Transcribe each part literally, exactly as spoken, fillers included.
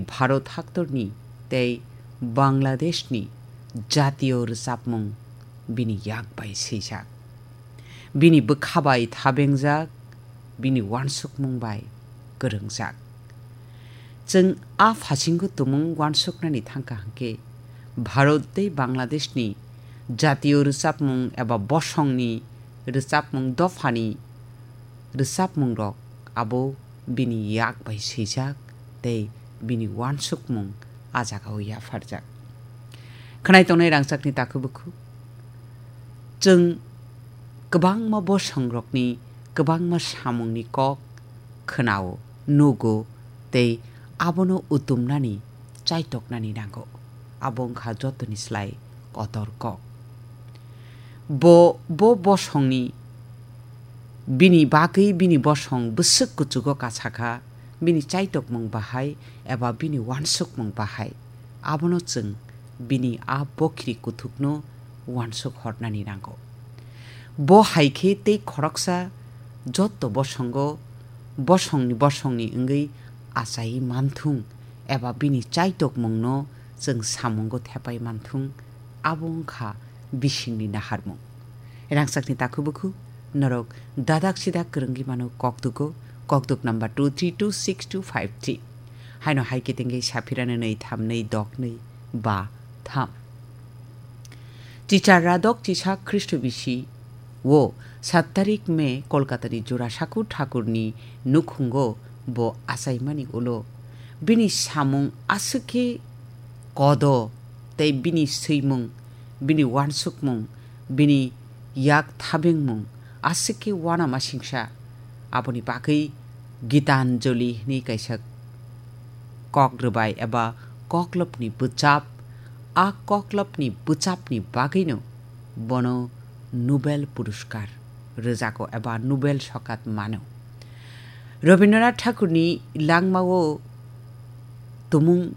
Bharat haktorni tei Bangladeshni jatiyo rwchapmung bini yak bai swijak. Bini bwkha bai thabengjak, bini uansukmung bai kwrwngjak. Chwng a phasingo tumung uansuknani thangkha hwnkhe, Bharat tei Bangladeshni jatiyo rwchapmung eba bosongni rwchapmung dophani rwchapmungrok abo bini yak bai swijak tei bini uansukmung a jagao yapharjak. Khwnai tongnai rangchakni takhuk bukhuk, chwng kwbangma bosongrokni kwbangma samungni kok khwnao, nugo tei abono utumnani, chaitoknani nango. Abo wngkha jotoni slai kotor kok. Bo, bo bosongni, bini bagwi bini bosong bwswk kuchugo kasakha, bini chaitokmung bahai eba bini uansukmung bahai. Abono chwng bini a bokhiri kuthukno uansuk hornani nango. Bo hai khe tei khoroksa jotto bosongo bosongni bosongni wngwi achaiwi manthung eba bini chaitokmungno chwng samungo thepai manthung, abo wngkha bisingni naharmung. Rangchakni takhuk bukhuk, norok dadak sidak kwrwngwi mano kokdugo, kokduk number two three two six two five three. Haino hai khe tengwi saphirano nwi tham nwi dok nwi ba tham. Chichar radok chisa Khristo bisi o sat tarik May Kolkatani Jurasakur Thakurni nukhungo bo achaimani ulo bini samung aswk khe kodo tei bini swimung, bini uansukmung, bini yak thabengmung aswk khe uanamasingsa. Aboni bagwi Gitanjali hwnwi kaisa kok rwbai eba koklopni bwchap, a koklopni bwchapni bagwino bono Nobel Puruskar rwjago eba Nobel sokat mano. Rabindranath Thakurni langmao tumung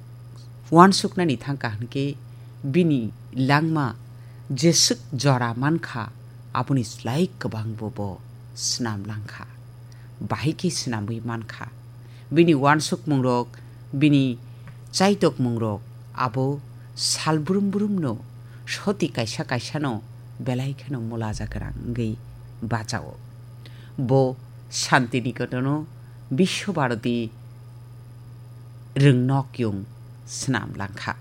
uansuknani thangkha hwnkhe bini langma jeswk jora mankha, aboni slai kwbangbo bo swnam langkha, bahai khe swnamwi mankha. Bini uansukmungrok, bini chaitokmungrok abo sal brum brumno soti kaisa kaisano belai kheno mulaja gwnang wngwi bachao. Bo Shantiniketon-o Biswa Bharati rwngnokyung swnam langkha.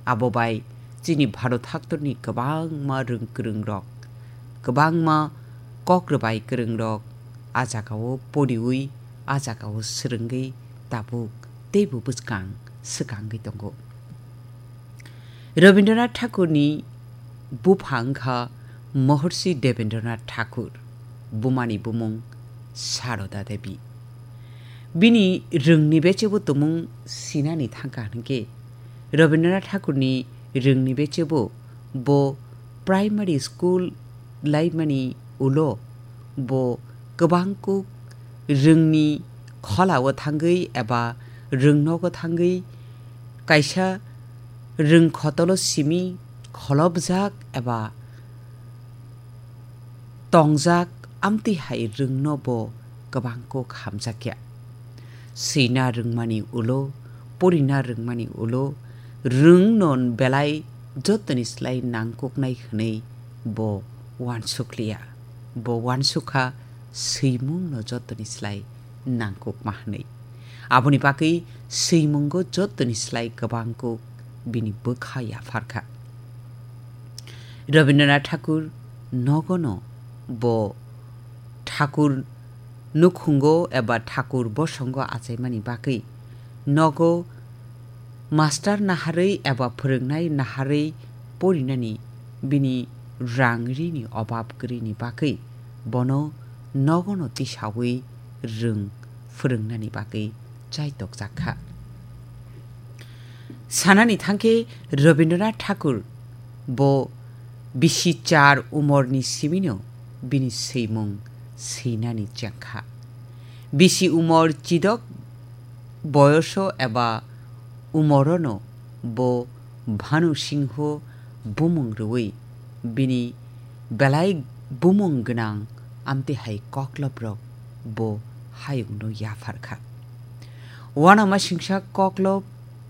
Abo bai chini Bharat haktorni kwbangma rwng kwrwngrok, kwbangma kok rwbai kwrwngrok a jagao poriwi, a jagao swrwngwi tabuk teibo bwskang swkangwi tongo. Rabindranath Thakurni bupha wngkha Mahorshi Debendranath Thakur, bumani bumung Saroda Devi. Bini rwngni bechebo tumung sinani thangkha hwnkhe, Rabindranath Thakurni rwngni bechebo bo primary school laimani ulo bo kwbangkuk rwngni kholao thangwi eba rwngnogo thangwi kaisa rwngkhotolo simi kholopjak eba tongjak, amtwi hai rwngno bo kwbangkuk hamjakya. Swina rwngmani ulo, porina rwngmani ulo, rwngno belai jotoni slai nangkuknai hwnwi bo uansukliya. Bo uansukha swimungno jotoni slai nangkukma hwnwi. Aboni bagwi swimungo jotoni slai kwbangkuk bini bwkha yapharkha. Rabindranath Thakur nogono bo Thakur nukhungo eba Thakur bosongo achaimani bagwi nogo master naharwi eba phwrwngnai naharwi porinani bini rang rini obab kwrwini bagwi bono nogono tisawi rwng phwrwngnani bagwi chaitokjak kha. Sanani thangkhe Rabindranath Thakur bo bisi char umorni simino bini swimung swinani chengkha. Bisi umor chidok boyoso eba umorono bo Bhanu Singho bumung rwui bini belai bumung gwnang amtwi hai kokloprok bo hayungno yapharkha. Uanamasingsa koklop